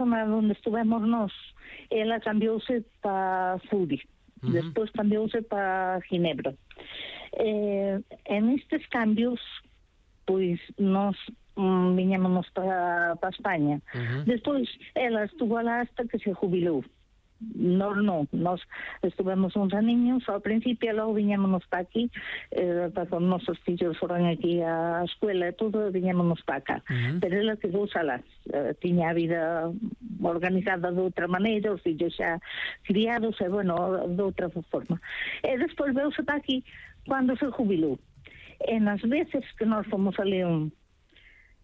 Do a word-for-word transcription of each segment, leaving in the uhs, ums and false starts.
zona onde estuvemos nós, ela cambiouse para Zuri, uh-huh. Despois cambiouse para Ginebra. Eh, en estes cambios, pois, nós mm, viñámonos para, para España. Uh-huh. Despois, ela estuvo alá hasta que se jubilou. Nós non, nós estuvemos uns aniños ao principio, logo viñámonos para aquí, eh, para que os nosos fillos foran aquí á escuela e todo, viñámonos para acá. Uh-huh. Pero ela quedou alá, eh, tiña a vida organizada de outra maneira, os fillos xa criados, e bueno, de outra forma. E despois veuse para aquí cando se jubilou. E nas veces que nós fomos a León,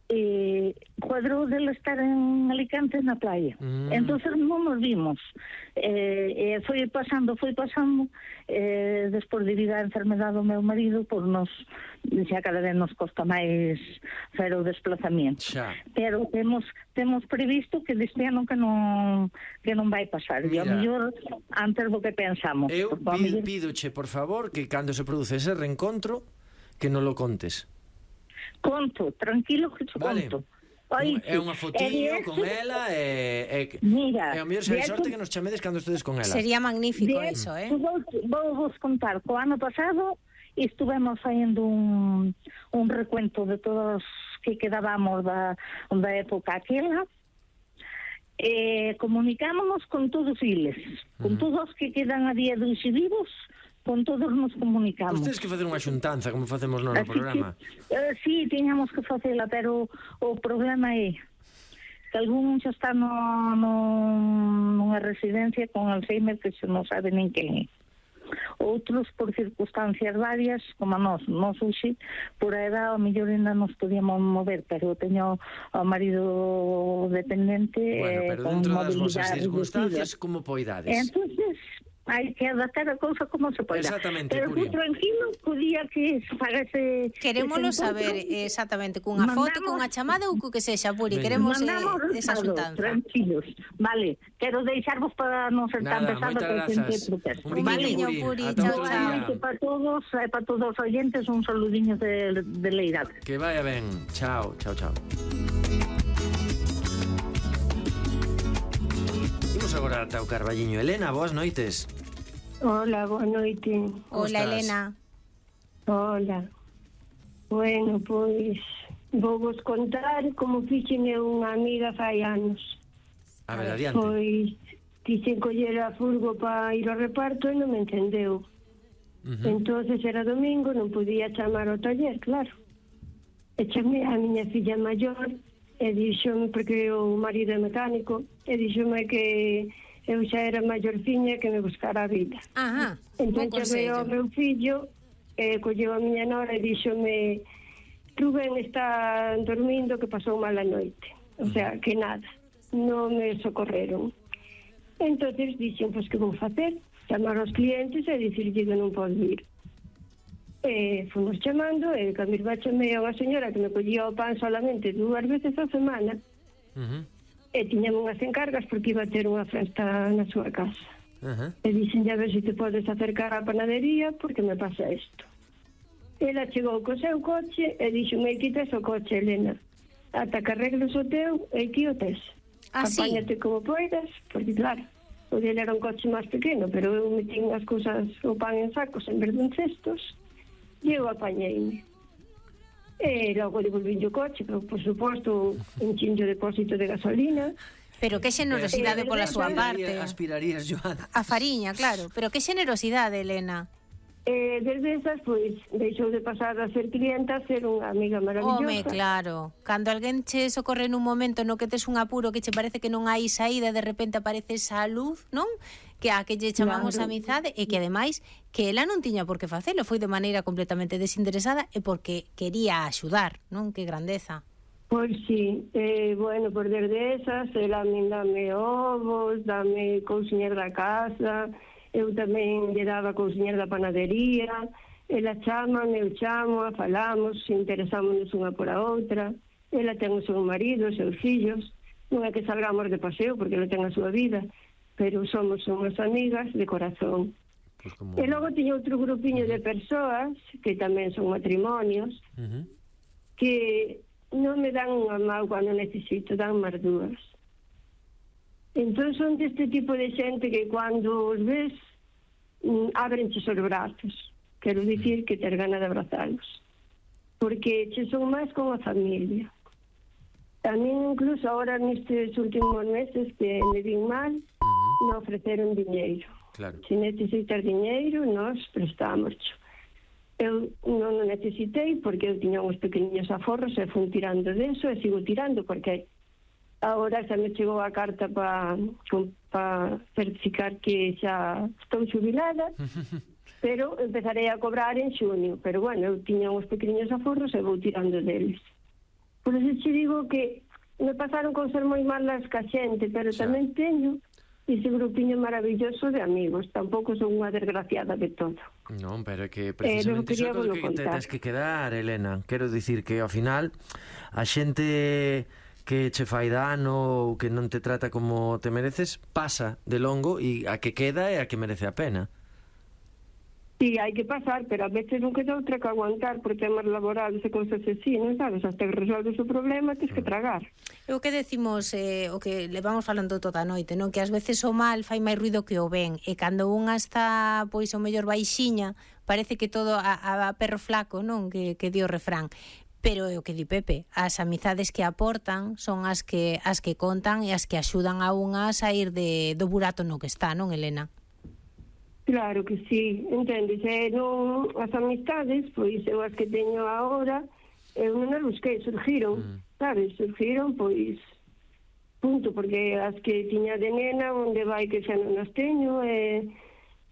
eh, cuadrou dela estar en Alicante na playa. Mm. Entonces non nos vimos. Eh, eh, foi pasando, foi pasando, eh, despois debido á enfermedade do meu marido, por nos, xa cada vez nos costa máis fer o desplazamento. Xa. Pero temos temos previsto que deste ano que non que non vai pasar. Mira, e ao mellor antes do que pensamos. Eu pido, pídoche, por favor, que cando se produce ese reencontro, que non lo contes. Conto, tranquilo que te vale. Conto. Oí, é unha fotiño con ela e, e, mira, e ao mellor se hai sorte que nos chamedes cando estedes con ela. Sería magnífico de, eso, eh? Vou, vou vos contar, co ano pasado estuvemos fazendo un, un recuento de todos que quedábamos da, da época aquela. Eh, comunicámonos con todos eles, con uh-huh. todos que quedan a día de hoxe vivos, con todos nos comunicamos. Pois tedes que facer unha xuntanza, como facemos no, no programa. Que, uh, sí, tiñamos que facela, pero o problema é que algún xa está no, no, nunha residencia con Alzheimer que se non sabe nin quen é. Outros por circunstancias varias, como a nós, nós hoxe, por a edad, ao mellor ainda nos podíamos mover, pero teño o marido dependente. Bueno, pero eh, dentro das vosas circunstancias, como poidades? Entonces, hai que adaptar a cousa como se poida. Exactamente, pero Puri. Tranquilo, podía que se fagase... Querémolo saber exactamente, cunha foto, cunha chamada ou cu que sexa, Puri. Queremos eh, esa xuntanza. Tranquilos. Vale, quero deixarvos para non ser tan pesado que grazas. Un baliño, Puri. Chao, chao. Para todos, e para todos os oyentes, un saludiño de, de Leira. Que vaya ben. Chao, chao, chao. Imos agora ata o Carballiño. Elena, boas noites. Hola, boa noite. Hola, Elena. Hola. Bueno, pois vou vos contar como fixeme unha amiga fai anos. A ver, adiante. Pois quixen coller a furgo para ir ao reparto e non me entendeu. Uh-huh. Entonces era domingo, non podía chamar ao taller, claro. E chamei a miña filla maior e dixome, porque o marido é mecánico, e dixome que eu xa era maiorciña que me buscara a vida. Ajá, entón chamei ao meu fillo e colleu a miña nora e díxome: Rubén está dormindo, que pasou mala noite. O sea, que nada, non me socorreron. Entonces dixen, pois que vou facer? Chamar aos clientes e dicirlle que non podo ir. E fomos chamando, e cando irba chamei a unha señora que me collía o pan solamente dúas veces a semana. Uh-huh. E tiñame unhas encargas porque iba a ter unha festa na súa casa. Uh-huh. E dixen, a ver se te podes acercar á panadería porque me pasa isto. Ela chegou co seu coche e dixo, me quites o coche, Elena, ata que arregles o teu e aquí o tes. Ah, apáñate sí? Como poidas, porque claro, o dele era un coche máis pequeno, pero eu metín as cousas, o pan en sacos en vez de en cestos, e eu apañeime. E logo devolví o coche, pero por suposto un chincho depósito de gasolina. Pero que xenerosidade eh, pola súa parte. Aspirarías, Joana. A fariña, claro. Pero que xenerosidade, Elena. Eh, desde esas, pois, deixou de pasar a ser clienta a ser unha amiga maravillosa. Home, claro. Cando alguén che socorre nun momento no que tes un apuro que che parece que non hai saída, de repente aparece esa luz, non? Que a que lle chamamos claro. Amizade, e que ademais que ela non tiña por que facelo, foi de maneira completamente desinteresada e porque quería axudar, non? Que grandeza. Pois sí, eh, bueno, por desde esas, ela me dame ovos, dame cousiñas da casa, eu tamén lle daba cousiñas da panadería, ela chama, eu chamo, a falamos, interesámonos unha por a outra, ela ten o seu marido, os seus fillos, non é que salgamos de paseo porque ela ten a súa vida, pero somos unhas amigas de corazón. Pues como... E logo tiña outro grupiño de persoas, que tamén son matrimonios, uh-huh. que non me dan unha mão cando necesito, dan máis dúas. Entón son deste tipo de xente que cando os ves ábrenche os brazos. Quero dicir que ter gana de abrazalos. Porque che son máis como a familia. A mí incluso ahora nestes últimos meses que me vin mal, me ofreceron diñeiro. Claro. Se necesitas diñeiro, nós prestamos. Eu non o necesitei porque eu tiña uns pequeniños aforros e fui tirando deso e sigo tirando porque agora xa me chegou a carta para pa certificar que xa estou xubilada, pero empezarei a cobrar en xunio. Pero bueno, eu tiña uns pequeniños aforros e vou tirando deles. Por eso te digo que me pasaron con ser moi malas ca xente, pero xa. Tamén teño ese grupiño maravilloso de amigos. Tampouco son unha desgraciada de todo. Non, pero é que precisamente eh, iso é que te tens que quedar, Elena. Quero dicir que ao final a xente que che fai dano ou que non te trata como te mereces pasa de longo e a que queda é a que merece a pena. Sí, hai que pasar, pero a veces non queda outra que aguantar por temas laborales e cousas así, non sabes? Hasta que resolves o problema, tens que tragar. É o que decimos, eh, o que levamos falando toda a noite, non? Que ás veces o mal fai máis ruido que o ben, e cando unha está, pois, o mellor baixiña, parece que todo a, a perro flaco, non? Que, que di o refrán. Pero é o que di Pepe, as amizades que aportan son as que as que contan e as que axudan a unha a sair de, do burato no que está, non, Elena? Claro que sí, entendes? Eh, non, as amistades, pois eu as que teño agora, eu non as busquei, surgiron, mm. sabes? Surgiron, pois, punto, porque as que tiña de nena, onde vai que xa non as teño, e,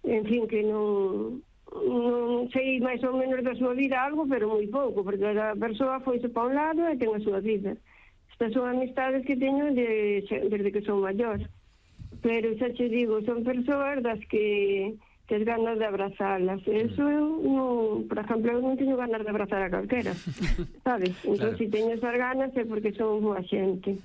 en fin, que non, non sei máis ou menos da súa vida algo, pero moi pouco, porque a persoa foise pa un lado e ten a súa vida. Estas son amistades que teño de, desde que son maior. Pero xa te digo, son persoas das que tes ganas de abrazalas. Eso eu non, por exemplo, eu non teño ganas de abrazar a calquera, sabes? Entón, claro. Se teño esas ganas é porque son boa xente.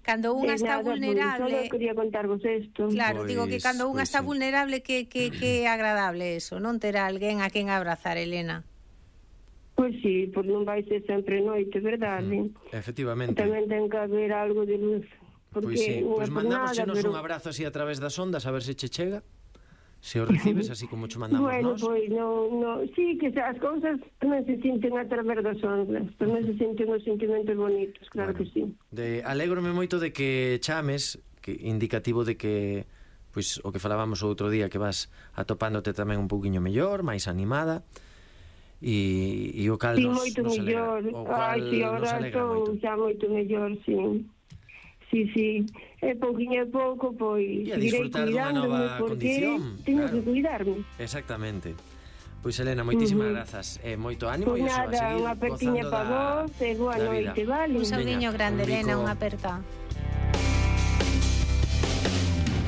Cando unha está nada, vulnerable... Só quería contarvos isto. Claro, pois, digo que cando unha pois está sí. vulnerable que, que, que é agradable eso, non ter alguén a quen abrazar, Elena. Pois sí, pois non vai ser sempre noite, verdade? Mm, efectivamente. Tamén ten que haber algo de luz. Pois sí, pois mandámosenos pero... un abrazo así a través das ondas a ver se che chega. Se o recibes así como che mandamos bueno, nós. Bueno, pois non, non, sí, que as cousas tamén se sinten a través das ondas, tamén se sinten os sentimentos bonitos, claro bueno, que sí. De, alégrome moito de que chames, que indicativo de que pois o que falábamos o outro día, que vas atopándote tamén un pouquiño mellor, máis animada. E, e o cal sí, nos, moito nos mellor. alegra. O cal Ai, sí, ahora estou xa moito mellor, sí. Sí, sí, é pouquinho a pouco, pois e a disfrutar dunha nova condición. Teño claro. que cuidarme. Exactamente. Pois Elena, moitísimas uh -huh. grazas e eh, moito ánimo pues e iso, nada, a seguir unha apertiña para vos e boa noite, vale? Un saudiño grande, Elena, unha aperta.